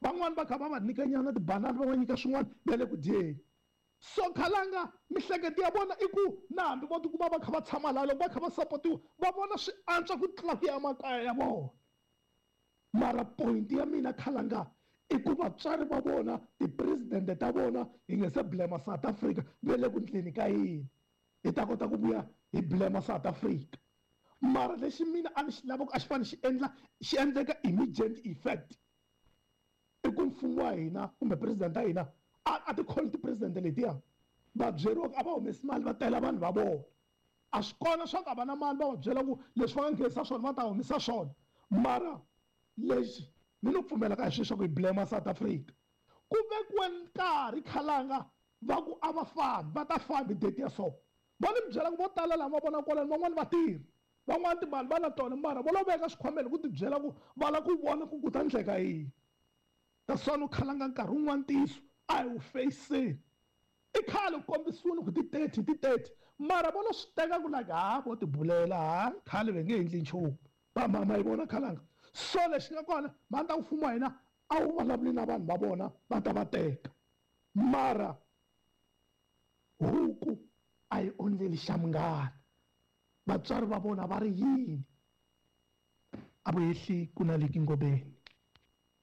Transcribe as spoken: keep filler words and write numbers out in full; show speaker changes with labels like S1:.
S1: Van'wani va kha va va nyikanyana tibanana, va va nyika swin'wana va le ku dyeni. So khalanga mihleketo ya vona i ku na hambi vo tikuma va kha va tshama laha, loko va kha va sapotiwa va vona swi antswa ku tlula ku ya makaya ya vona. Mara point ya mina khalanga i ku vatswari va vona, tipresidente ta vona, hi nge se blame South Africa va le ku ndleni ka yini, hi ta kota ku vuya hi blame South Africa. Mara lexi mina a ni xi lava ku a xi fanele xi endla xi endleka immediate effect i ku mfumo wa hina kumbe president ya hina a a ti call ti-president letiya, va byeriwa ku a va humesi mali va tela vanhu va vona. A swi kona swa ku a va na mali, va va byela ku leswi va nga nghenisa swona va ta humesa swona. Mara lexi ni no pfumela ka hi sweswo ku hi blame South Africa, ku vekiwe nkarhi khalanga va ku a va fambi, va ta fambi date ya so. Va ni byela ku vo tala lava va vona kwalano, van'wani va tirhi, van'wani timali va na tona, mara vo lo veka swikhwameni ku ti byela ku va lava ku vona ku ku ta endleka yini. That's why no khalanga nkarhi wun'wani ntiyiso a hi wu feyiseni. I khale ku kombisiwile ku ti thirty, ti thirty, mara vo lo swi teka ku like ha vo ti bulela, ha khale va nge endli nchumu. Va mama yi vona khalanga. So lexi nga kona, mhani ta ku mfumo wa hina a wu vulavuli na vanhu va vona va ta va teka. Mara huku a yi ondzeli xa munghana. Vatswari va vona va ri yini? A vu hehli ku na leki ngobeni.